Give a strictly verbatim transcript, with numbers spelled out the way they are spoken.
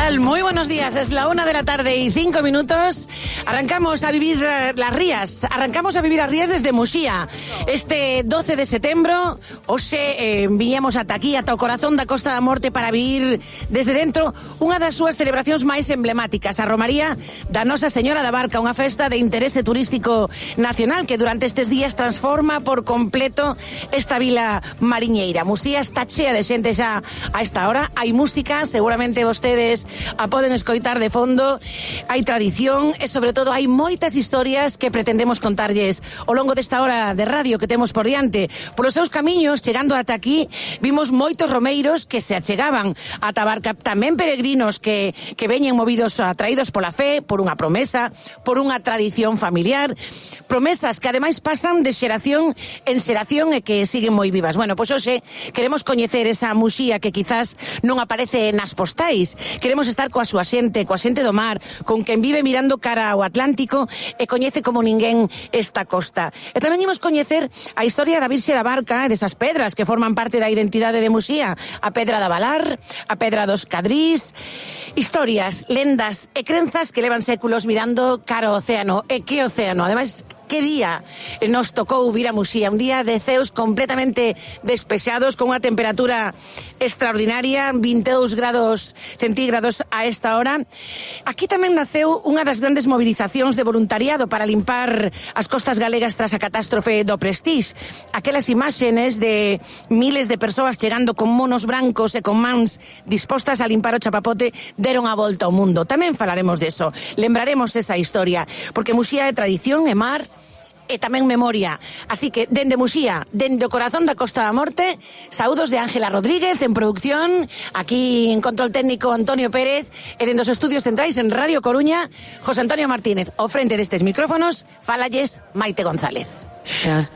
tal? Muy buenos días, es la una de la tarde y cinco minutos. Arrancamos a vivir las rías, arrancamos a vivir las rías desde Muxía. Este doce de setembro, hoxe eh, viñemos ata aquí, ata o corazón da Costa da Morte para vivir desde dentro unha das súas celebracións máis emblemáticas, a Romaría da Nosa Señora da Barca, unha festa de interese turístico nacional que durante estes días transforma por completo esta vila mariñeira. Muxía está chea de xente xa a esta hora, hai música, seguramente vostedes a poden escoitar de fondo, hai tradición e sobre todo hai moitas historias que pretendemos contarlles ao longo desta hora de radio que temos por diante. Polos seus camiños, chegando ata aquí, vimos moitos romeiros que se achegaban ata a Barca, tamén peregrinos que, que veñen movidos, atraídos pola fe, por unha promesa, por unha tradición familiar, promesas que ademais pasan de xeración en xeración e que siguen moi vivas. Bueno, pois hoxe queremos coñecer esa Muxía que quizás non aparece nas postais. Queremos estar coa súa xente, coa xente do mar, con quen vive mirando cara ao Atlántico e coñece como ninguén esta costa. E tamén imos coñecer a historia da Virxe da Barca e desas pedras que forman parte da identidade de Muxía, a Pedra da Valar, a Pedra dos Cadrís, historias, lendas e crenzas que levan séculos mirando cara ao océano. E que océano? Ademais, que día nos tocou vir a Muxía, un día de ceos completamente despexados, con unha temperatura extraordinaria, vinte e dous grados centígrados a esta hora. Aquí tamén naceu unha das grandes movilizacións de voluntariado para limpar as costas galegas tras a catástrofe do Prestige. Aquelas imaxenes de miles de persoas chegando con monos brancos e con mans dispostas a limpar o chapapote deron a volta ao mundo. Tamén falaremos deso, lembraremos esa historia, porque Muxía é tradición, é mar e tamén memoria. Así que, dende Muxía, dende o corazón da Costa da Morte, saúdos de Ángela Rodríguez en producción, aquí en control técnico Antonio Pérez, e dende os estudios centrais en Radio Coruña, José Antonio Martínez. Ao frente destes micrófonos, falalles Maite González. Just